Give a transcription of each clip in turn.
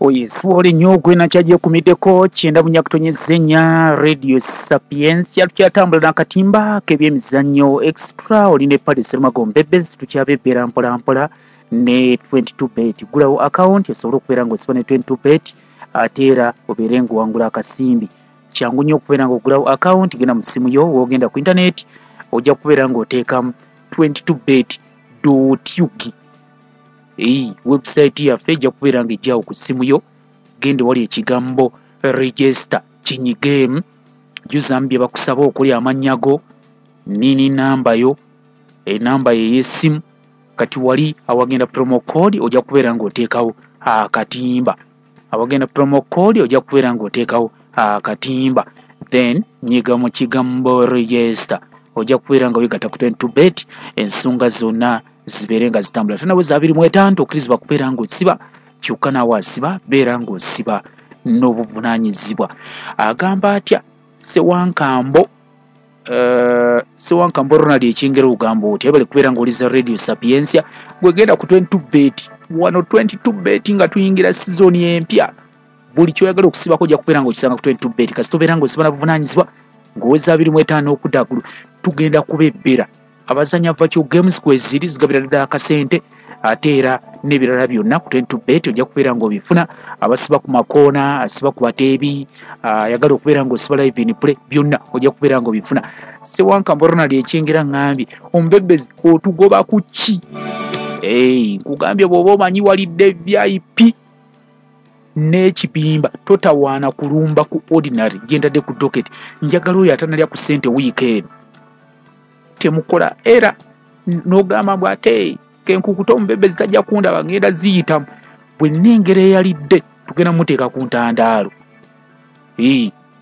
Oyeswole nnyo gwe nakyagyekumideko kyenda bunyakutonyezzenya Radio Sapientia. Tukyatambula n'akatimba k'ebyemizannyo extra oli ne Paddy Serumago Mbebezi, tukyabebbera mpola mpola ne 22 bet. Gulawo account osobole okubeera ng'osiba ne 22 bet ate era obeere ng'owangula akasimbi. Kyangu nnyo okubeera ng'ogulawo account, genda mu ssimu yo w'ogenda ku internet ojja kubeera ng'oteekamu 22bet.ug. Eyi website yaffe ejja kubeera ng'ejjawo ku ssimu yo, genda wali ekigambo register kinyigeemu, jjuzamu bye bakusaba okuli amannya go, nini namba yo, enamba yo ey'essimu. Kati wali awagenda promo code ojja kubeera ng'oteekawo akatimba, awagenda promo code ojja kubeera ng'oteekawo akatimba, then nyiga mu kigambo register, ojja kubeera nga weegatta ku 22 bet, ensonga zonna zibeere nga zitambula. Tonaweza 25 okkirizibwa kubeera ng'osiba, kyokka naawe asiba beera ng'osiba n'obuvunaanyizibwa. Agamba atya Ssewankambo, Ssewankambo Ronald Ekyengera, ogamba otya? Webale kubeera ng'oliza Radio Sapientia. Gwe genda ku 22 bet wano, 22 bet nga tuyingira sizoni empya, buli kyoyagala okusibako ojja kubeera ng'okisanga ku 22 bet, kasita obeera ng'osiba na buvunaanyizibwa ng'oweza 25 okudda waggulu. Tugenda kubebbera abazanya virtual games kweziri zigabira ddala akasente, ate era n'ebirala byonna ku 22 bet ojja kubeera ng'obifuna. Abasiba ku makoona, asiba ku bateebi, ayagala okubeera ng'osiba live in play, byonna ojja kubeera ng'obifuna. Ssewankambo Ronald Ekyengera ŋŋambye omubebezi otugoba ku ki? Nkugambye bw'oba omanyi walidde VIP n'ekibimba totawaana kulumba ku ordinary gyentadde ku docket. Njagala oyo atanalya ku ssente wiiki eno temukola era n'ogamba mbu ate kenkukuta omubebezi tajja kundaba ngenda ziyitamu. Bwe nnengera eyalidde tugenda muteeka ku ntandaalo.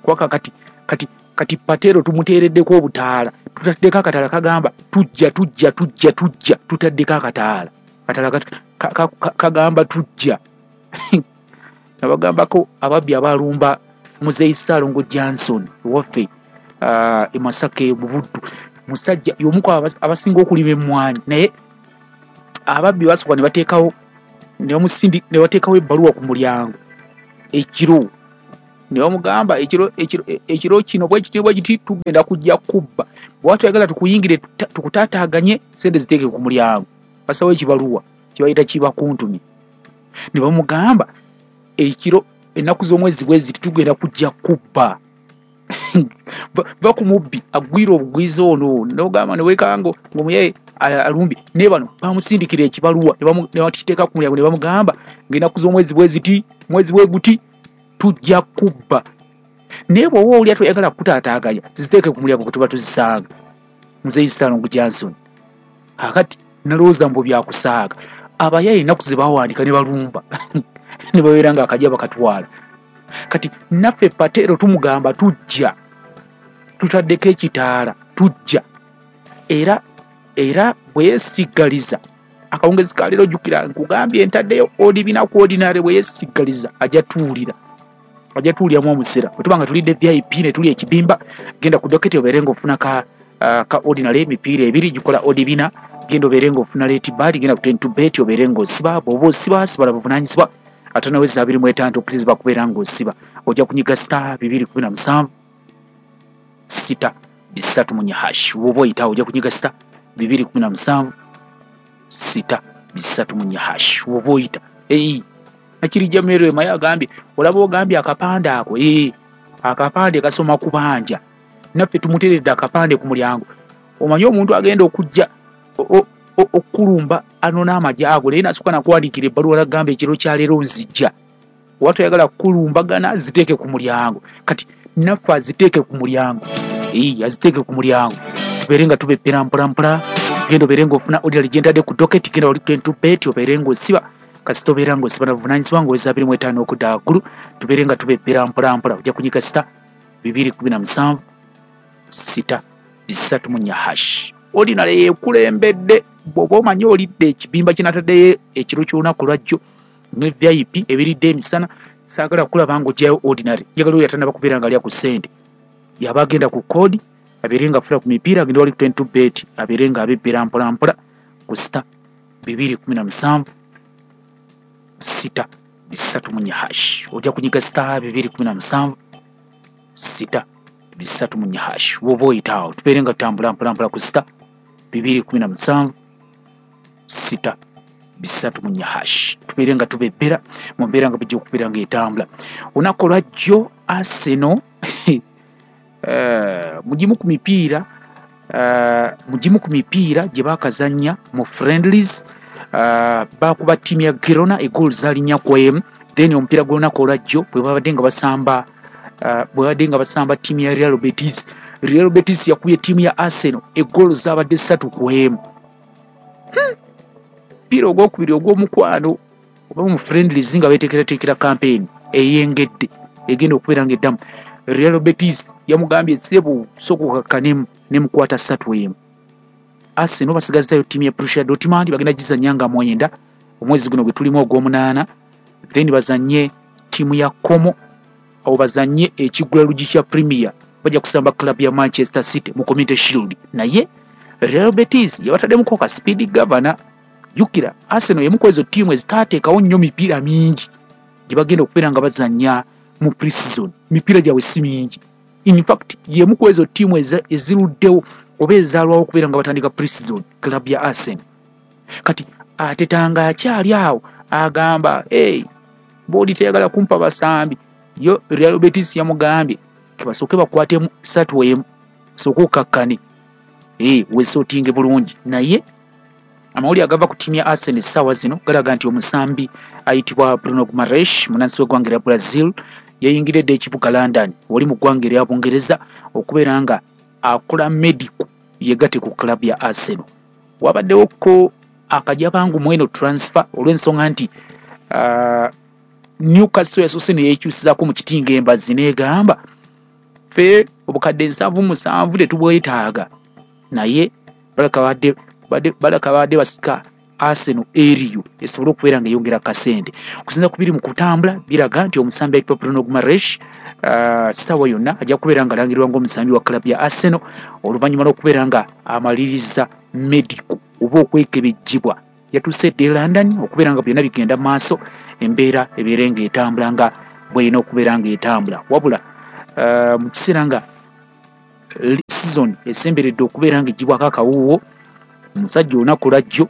Kwaka kati kati kati Pateero tumuteereddeko obutaala, tutaddeko akataala kagamba tujja tujja tujja tujja, tutaddeko akataala kataala kagamba tujja. Nabagambako ababbi abalumba Muzeeyi Ssaalongo Johnson ewaffe e Masaka mu Buddu, musajja y'omu ku abasinga okulima emmwanyi, naye ababbi basooka ne bateekawo ne bateekawo ebbaluwa ku mulyango ekiro ne bamugamba ekiro kino bwe kiti bwe kiti tugenda kujja kubba, bw'oba toyagala tukuyingire tukutaataaganye ssente ziteeke ku mulyango. Basawo ekibaluwa kibayita kibakuntumye ne bamugamba ekiro ennaku z'omwezi bwe ziti tugenda kujja kubba. Va ku mubbi agwira obugwiza ono n'ogamba ne weekanga ng'omuyaye alumbye, naye bano bamusindikira ekibaluwa ne bakiteeka ku mulyango ne bamugamba ng'ennaku z'omwezi bwe ziti mwezi bwe guti tujja kubba, naye bw'oba olya toyagala kukutaataaganya ziteeke ku mulyango gwe tuba tuzisanga. Muzeeyi Ssaalongo Johnson akati nalowooza mbu byakusaaga, abayaye ennaku ze bawandiika ne balumba ne babeera nga akajja bakatwala. Kati naffe Pateero tumugamba tujja, tutaddeko ekitaala tujja, era bwe yeesiggaliza akawungezi ka leero, jjukira nkugambye ntaddeyo odi bina ku ordinary, bwe yeesiggaliza ajja tuwulira, ajja tuwuliramu omusera. Bwe tuba nga tulidde VIP ne tuli ekibimba, genda ku docket obeere ng'ofuna ka ordinary emipiira ebiri gikola odi bina, genda obeere ng'ofuna late bird, genda ku 22 bet obeere ng'osiba. Bw'oba osiba sibala buvunaanyizibwa, ate naweza 25 okkirizibwa kubeera ng'osiba. Ojja kunyiga star 217 6 3 4 hash. Bw'oba oyitawo ojja kunyiga star 217 6 3 4 hash bw'oba oyita. Eyi Nakirijja Mary maye agambye olaba ogambye akapande ako, akapande kasoma kubanja, naffe tumuteeredde akapande ku mulyango. Omanyi omuntu agenda okujja okulumba anona amagye ago, naye nasooka nakuwandiikira ebbaluwa nagamba ekiro kya leero nzijja, oba toyagala kukulumbagana ziteeke ku mulyango. Kati naffe aziteeke ku mulyango, aziteeke ku mulyango tubeere nga tubeppera mpola mpola. Genda obeere ng'ofuna ordinary gyentadde ku docket, genda wali 22 bet obeere ng'osiba, kasita obeera ng'osiba na buvunaanyizibwa ng'oweza 25 okudda waggulu, tubeere nga tubeppera mpola mpola. Ojja kunyiga star 217 6 3 4 hash. Ordinary yekulembedde. Bw'oba omanyi olidde ekibimba kinataddeyo ekiro ky'olunaku lwajjo ne VIP ebiridde emisana, saagala kulaba ng'oggyayo ordinary. Njagala oyo atannaba kubeera ng'alya ku ssente yaba agenda ku code abeere nga afuna ku mipiira, agenda wali 22 bet abeere nga abebbera mpola mpola ku star 217 6. 34 hash. Ojja kunyiga star 217 6 34 hash. Woba oyitaawo tubeere nga tutambula mpola mpola ku star 217 6 34 hash. Tubeere nga tubebbera mu mbeera nga bijja okubeera nga etambula. Olunaku olwajjo Arsenal mugimu ku mipiira gye baakazannya mu friendlies, baakuba ttiimu ya Girona egoal zaali 4-1. Then omupiira gw'olunaku olwajjo bwe babadde nga basamba ttiimu ya Real Betis, Real Betis yakubye ttiimu ya Arsenal egoal zaabadde 3-1. Mupiira ogwokubiri ogw'omukwano oba mu friendlies nga beeteekerateekera campaign eyengedde egenda okubeera nga eddamu. Real Betis yamugambye ssebo sooka okakkanemu nemukwata 3-1. Arsenal basigazzayo ttiimu ya Borussia Dortmund, bagenda gizannya nga 9 omwezi guno gwe tulimu ogw'omunaana. Then bazannye ttiimu ya Como, awo bazannye ekigula lugi kya Premier, bajja kusamba club ya Manchester City mu Community Shield. Naye Real Betis yabataddemuko ka speed governor. Jjukira Arsenal y'emu ku ezo ttiimu ezitaateekawo nnyo mipiira mingi gye bagenda okubeera nga bazannya mu pre-season. Mipiira gyabwe si mingi. In fact y'emu ku ezo ttiimu eziruddewo oba ezaalwawo okubeera nga batandika pre-season, club ya Arsenal. Kati Arteta nga akyali awo agamba hey, boodi teyagala kumpa basambi. Yo Real Betis yamugambye basooke bakwatemu 3-1, sooka okakkane weesootinge bulungi. Naye amawulire agava ku ttiimu ya Arsenal essaawa zino galaga nti omusambi ayitibwa Bruno Guimaraes, munnansi w'eggwanga erya Brazil, yayingiridde ekibuga London wali mu ggwanga erya Bungereza okubeera nga akola medical yegatte ku club ya Arsenal. Wabaddewoko akajabangu mu eno transfer olw'ensonga nti Newcastle yasoose ne yeekyusizaako mu kitinga embazzi n'egamba ffe obukadde 77 tetubwetaaga, naye balaka babadde basika Arsenal eriyo esobole okubeera nga eyongera kasente. Okusinziira ku biri mu kutambula biraga nti omusambi ayitibwa Bruno Guimaraes ssaawa yonna ajja kubeera nga alangirirwa ng'omusambi wa club ya Arsenal oluvannyuma lw'okubeera nga amaliriza medical oba okwekebejjibwa. Yatuuse dda e London okubeera nga byonna bigenda mu maaso, embeera ebeere ng'etambula nga bw'erina okubeera ng'etambula. Wabula mu kiseera nga season esemberedde okubeera ng'eggyibwako akawuuwo, omusajja olunaku lwajjo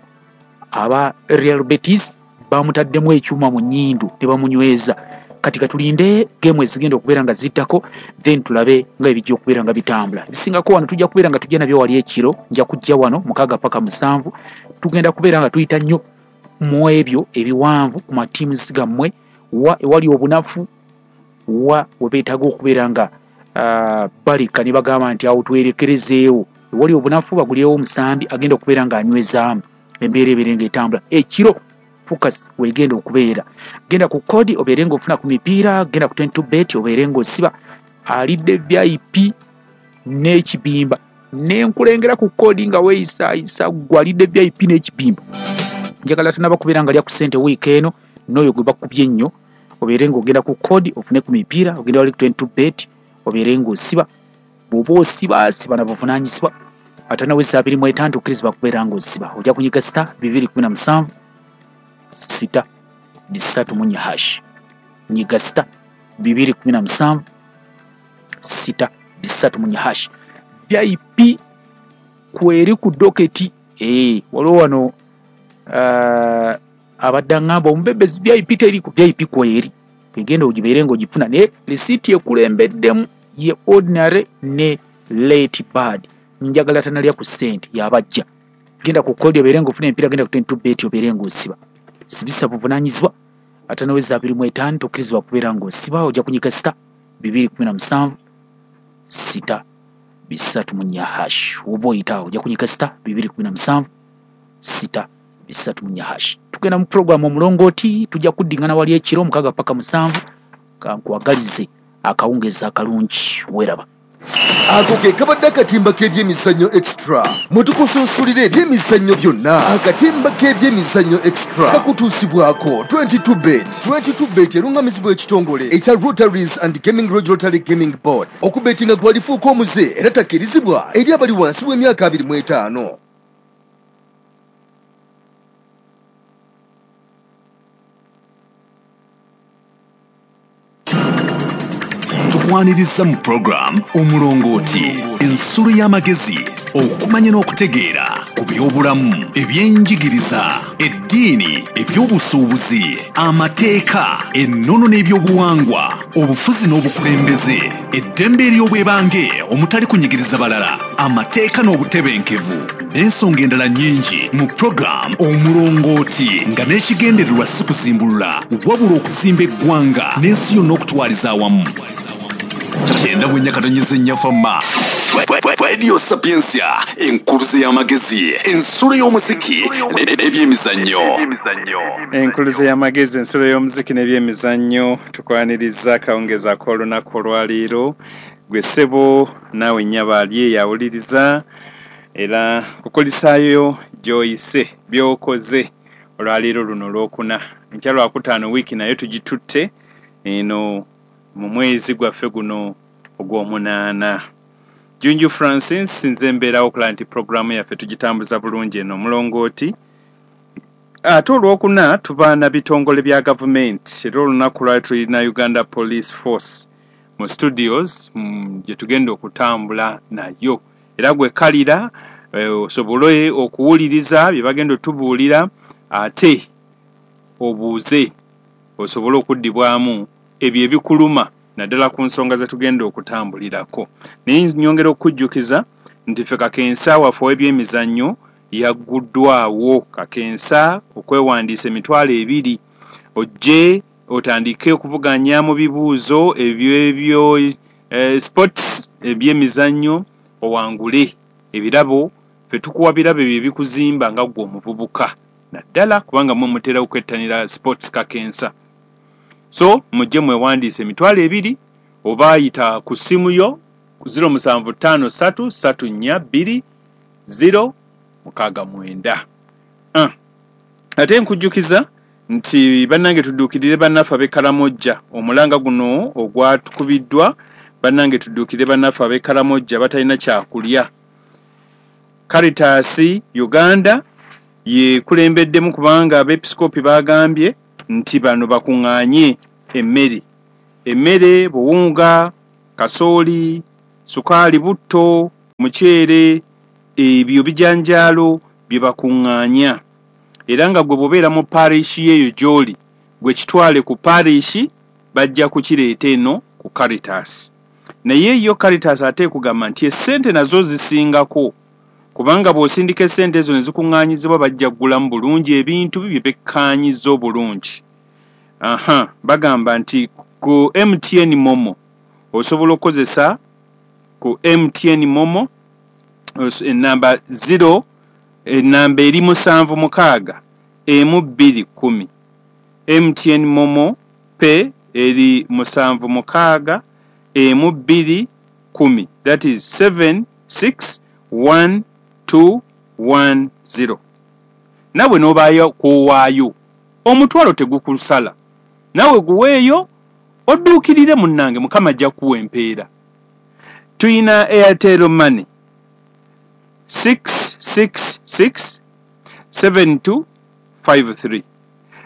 aba Real Betis bamutaddemu ekyuma mu nnyindo ne bamunyweza. Kati katulinde geemu ezigenda okubeera nga ziddako, then tulabe nga ebijja okubeera nga bitambula. Ebisingako wano tujja kubeera nga tujja nabyo wali ekiro, nja kujja wano 6 paka 7, tugenda kubeera nga tuyita nnyo mu ebyo ebiwanvu ku matiimu gammwe, wa ewali obunafu, wa we beetaaga okubeera nga baleka ne bagamba nti awo twerekerezeewo. Ewali obunafu bagulirewo omusambi agenda okubeera ng'anywezaamu embeera ebeere ng'etambula. Ekiro focus wegenda okubeera, genda ku kodi obeere ng'ofuna ku mipiira, genda ku 22 bet obeere ng'osiba alidde VIP n'ekibimba. Nenkulengera ku kodi nga weeyisaayisa ggwe alidde VIP n'ekibimba. Njagala tanaba kubeera nga lya ku ssente wiiki eno n'oyo gwe bakubye ennyo, obeere ng'ogenda ku kodi ofune ku mipiira, ogenda wali ku 22 bet obeere ng'osiba. Bw'oba osiba siba na buvunaanyizibwa. Atanaweza 25 okkirizibwa kubeera ng'osiba. Ojja kunyiga star 217 6 34 hash. Nyiga star 217 6 34 hash. VIP kweri ku doketi. Waliwo wano abadde aŋŋamba omubebezi VIP teri ku VIP kweri, egenda ogibeere ng'ogifuna, naye risiiti ekulembeddemu ye ordinary ne late bird. Njagala tanalya ku ssente yabajja. Genda ku kodi obeere ng'ofuna emipiira, genda ku 22 bet obeere ng'osiba. Sibisa buvunaanyizibwa. Atanaweza 25 tokkirizibwa kubeera ng'osiba. Ojja kunyiga star 217 6 34 hash. Oba oyitaawo ojja kunyiga star 217 6 34 hash. Tugenda mu program omulongooti, tujja kuddingana wali ekiro 6 paka 7. Kankwagalize akawungeezi akalungi, weeraba. Ako ke kabadde akatimba k'ebyemizannyo extra. Mwe tukusunsulira ebyemizannyo byonna. Akatimba k'ebyemizannyo extra kakutuusibwako 22 bet. 22 bet erungamizibwa ekitongole ekya Rotaries and Gaming Regulatory Gaming Board. Okubetinga gwalifuuka omuze era takkirizibwa eri abali wansi w'emyaka 25. Tukwaniriza mu program Omulongooti, ensulo y'amagezi, okumanya n'okutegeera ku byobulamu, ebyenjigiriza, eddiini, ebyobusuubuzi, amateeka, ennono n'ebyobuwangwa, obufuzi n'obukulembeze, eddembe ery'obwebange omutali kunyigiriza balala, amateeka n'obutebenkevu, n'ensonga endala nnyingi mu program Omulongooti, nga n'ekigendererwa si kuzimbulula wabula okuzimba eggwanga n'ensi yonna okutwaliza awamu. 94.4 Fama Radio Sapientia, enkuluze y'amagezi, ensulo y'omuziki n'ebyemizannyo. Enkuluze y'amagezi, ensulo y'omuziki n'ebyemizannyo. Tukwaniriza akawungeezi ak'olunaku olwaleero. Gwe ssebo naawe nnyabo ali eyo awuliriza, era kukulisaayo gy'oyise by'okoze olwaleero luno olwokuna. Enkya lwakutaano wiiki nayo tugitutte eno mu mwezi gwaffe guno ogw'omunaana. Junju Francis nze mbeerawo okulaba nti puroguraamu yaffe tugitambuza bulungi eno Omulongooti. Ate olwokuna tuba na bitongole bya gavumenti, era olunaku lwali tulina Uganda Police Force mu studios gye tugenda okutambula nayo, era gwe kalira osobole okuwuliriza bye bagenda otubuulira, ate obuuze osobole okuddibwamu ebyo ebikuluma naddala ku nsonga ze tugenda okutambulirako. Naye nnyongera okukujjukiza nti ffe kakensa waffe ow'ebyemizannyo yagguddwawo, kakensa okwewandiisa 20,000 ojje otandike okuvuganya mu bibuuzo ebyebyo sports ebyemizannyo owangule ebirabo. Ffe tukuwa birabo ebyo ebikuzimba nga ggwe omuvubuka, naddala kubanga mmwe mutera okwettanira sports kakensa. So mujje mwewandiise 20,000 oba yita ku ssimu yo 0753 342 069. Ate nkujjukiza nti bannange tudduukirire bannaffe ab'e Karamojja. Omulanga guno ogwatukubiddwa, bannange tudduukirire bannaffe ab'e Karamojja batalina kyakulya. Caritas Uganda yekulembeddemu kubanga abeepisikoopi bagambye nti bano bakuŋŋaanye emmere, emmere, buwunga, kasooli, sukaali, butto, muceere, ebyo bijanjaalo bye bakuŋŋaanya. Era nga gwe bw'obeera mu parish eyo gy'oli, gwe kitwale ku parish, bajja kukireeta eno ku Caritas. Naye yo Caritas ate ekugamba nti essente nazo zisingako, kubanga bw'osindika essente ezo ne zikuŋŋaanyizibwa bajja kugulamu bulungi ebintu bye bekkaanyiza obulungi. Aha, bagamba nti ku MTN Momo osobola okukozesa ku MTN Momo enamba 0, enamba eri 76 1210. MTN Momo Pay eri 76 1210, that is 76 1210. Nawe n'obaayo kw'owaayo omutwalo tegukusala, nawe guweeyo odduukirire munnange, Mukama ajja kuwa empeera. Tuyina Airtel Money 666 7253,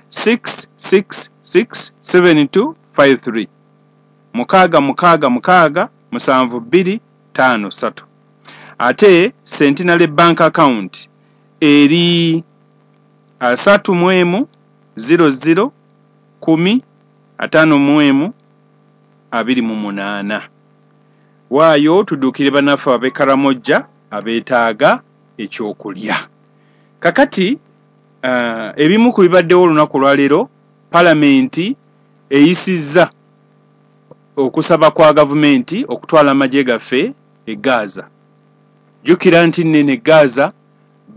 666 7253, 666 72 53. Ate Centenary Bank account eri 31 00 10 51 28. Waayo tudduukire bannaffe ab'e Karamojja abeetaaga ekyokulya. Kakati ebimu ku bibaddewo olunaku olwaleero, palamenti eyisizza okusaba kwa gavumenti okutwala amagye gaffe e Gaza. Jjukira nti nnene Gaza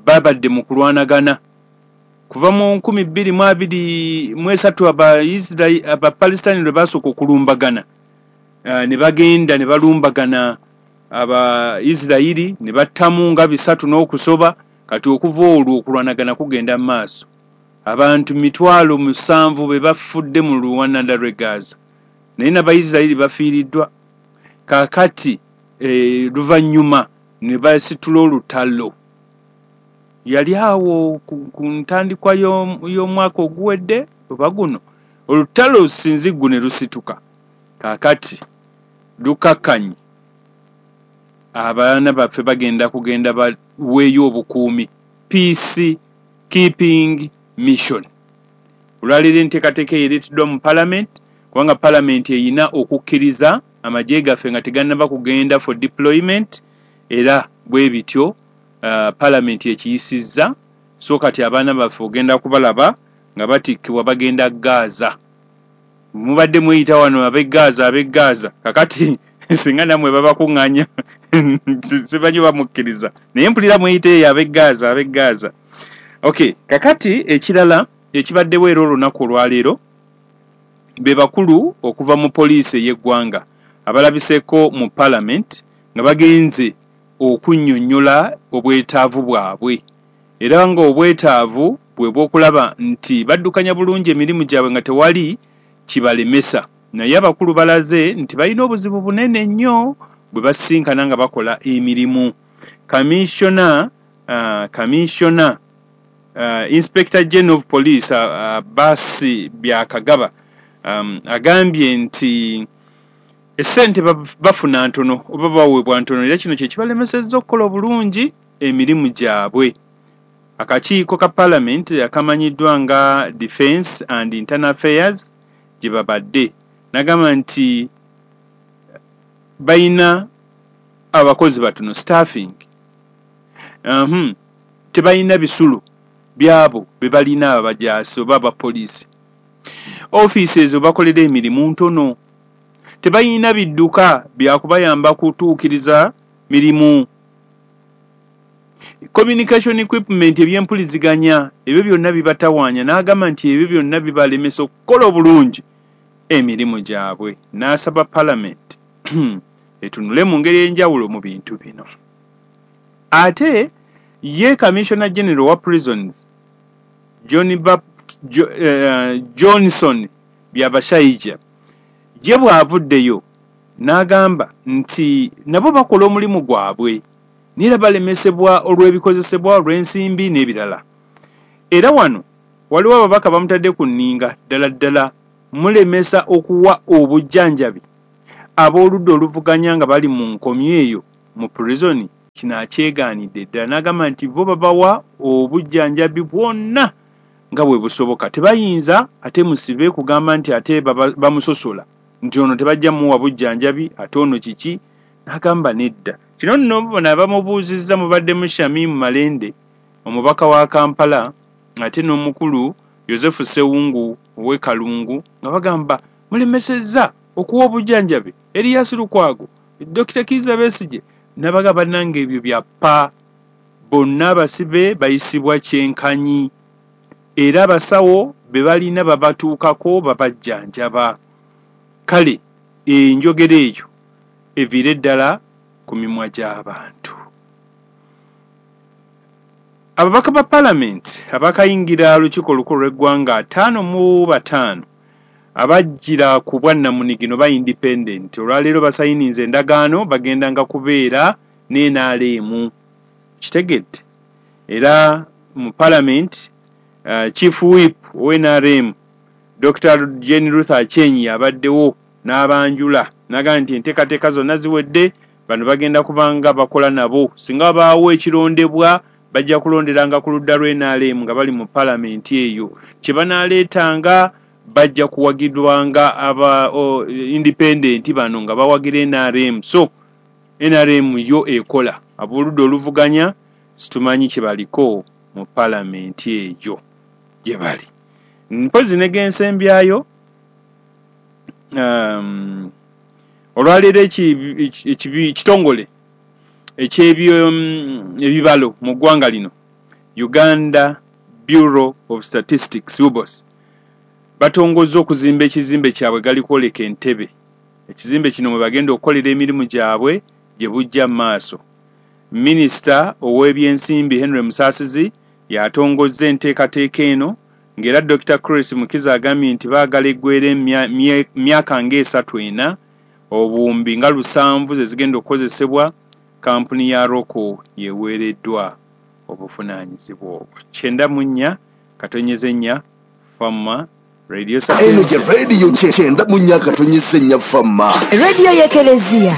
babadde mu kulwanagana kuva mu 2023 Abapalestine lwe basooka okulumbagana, ne bagenda ne balumbagana Abaisirayiri ne battamu nga 3 n'okusoba. Kati okuva olwo okulwanagana kugenda mu maaso. Abantu 700,000 be bafudde mu luwananda lw'e Gaza, naye n'Abayisirayiri bafiiriddwa. Kaakati luvannyuma ne basitula olutalo. Yali awo ku ntandikwa y'omwaka oguwedde oba guno, olutalo sinziggu ne lusituka. Kaakati lukakkanye, abaana baffe bagenda kugenda baweeyo obukuumi, peace keeping mission. Olwaleero enteekateeka eyo ereeteddwa mu parliament, kubanga parliament eyina okukkiriza amagye gaffe nga tegannaba kugenda for deployment, era bwe bityo parliament ekiyisizza. So kati abaana baffe ogenda kubalaba nga batikkibwa bagenda Gaza. Mubadde mweyita wano ab'e Gaza, ab'e Gaza, kakati singa nammwe babakuŋŋaanya simanyi bamukkiriza, naye mpulira mweyita eyo ab'e Gaza, ab'e Gaza. Okay, kakati ekirala ekibaddewo era olunaku olwaleero, be bakulu okuva mu poliisi ey'eggwanga abalabiseeko mu parliament nga bagenze okunnyonnyola obwetaavu bwabwe, era ng'obwetaavu bwe bw'okulaba nti baddukanya bulungi emirimu gyabwe nga tewali kibalemesa. Naye abakulu balaze nti balina obuzibu bunene nnyo bwe basisinkana nga bakola emirimu. Commissioner, Inspector General of Police Basi Byakagaba agambye nti essente bafuna ntono oba baweebwa ntono, era kino kye kibalemesezza okukola obulungi emirimu gyabwe. Akakiiko ka parliament akamanyiddwa nga Defence and Internal Affairs gye babadde, n'agamba nti balina abakozi batono, staffing, tebalina bisulo byabo be balina abajaasi oba abapoliisi, ofiisi ezo bakolera emirimu ntono, tebalina bidduka byakubayamba kutuukiriza mirimu, communication equipment, ebyempuliziganya, ebyo byonna bibatawaanya. N'agamba nti ebyo byonna bibalemesa okukola obulungi emirimu gyabwe, n'asaba parliament etunule mu ngeri enjawulo mu bintu bino. Ate ye Commissioner General wa Prisons Johnson Byabashaija ye bw'avuddeyo n'agamba nti nabo bakola omulimu gwabwe, naye era balemesebwa olw'ebikozesebwa, olw'ensimbi n'ebirala. Era wano waliwo ababaka bamutadde ku nninga, ddala ddala mulemesa okuwa obujjanjabi ab'oludda oluvuganya nga bali mu nkomyo eyo mu prison. Kino akyegaanidde ddala, n'agamba nti bo babawa obujjanjabi bwonna nga bwe busoboka, tebayinza ate musibe kugamba nti ate bamusosola nti ono tebajja muwa bujjanjabi, ate ono kiki. N'agamba nedda. Kino nno bona bamubuuzizza mubaddemu Shamim Malende, omubaka wa Kampala, ate n'omukulu Yosefu Ssewungu ow'e Kalungu, nga bagamba mulemesezza okuwa obujjanjabi Erias Lukwago, Dr Kiiza Besigye. Nabaga bannange ebyo byappa, bonna abasibe bayisibwa kyenkanyi, era abasawo be balina babatuukako babajjanjaba. Kale enjogera eyo eviire ddala ku mimwa gy'abantu. Ababaka ba palamenti abakayingira olukiiko olukulu lw'eggwanga 55 abajjira ku bwannamunigino ba independent, olwaleero basayininze endagaano, bagendanga kubeera n'NRM. Kitegedde era mu parliament Chief Whip owa NRM Dr Jane Ruth Aceng abaddewo n'abanjula, n'agamba nti enteekateeka zonna ziwedde, bano bagenda kubanga bakola nabo, singa wabaawo ekirondebwa bajja kulonderanga ku ludda lw'NRM nga bali mu palamenti eyo, kye banaaleetanga bajja kuwagirwanga aba independent bano nga bawagira NRM. So NRM yo ekola, ab'oludda oluvuganya situmanyi kye baliko mu palamenti eyo gye bali. Mpozi ne gensembyayo, olwaleero ekitongole ekyebyo ebibalo mu ggwanga lino, Uganda Bureau of Statistics, UBOS, batongozza okuzimba ekizimbe kyabwe galikwoleka Entebbe. Ekizimbe kino mwe bagenda okukolera emirimu gyabwe gye bujja mu maaso. Minisita ow'ebyensimbi Henry Musaasizi yatongozza enteekateeka eno, ng'era Dr Chris Mukiza agambye nti baagala eggwera myaka ng'esatu ena, 700,000 ze zigenda okukozesebwa. Kampuni ya Roko yeweereddwa obuvunaanyizibwa obwo. 94.4 Fama. Radio Eno ye Sapientia. rediyo 94.4 Fama. Rediyo y'Ekereziya.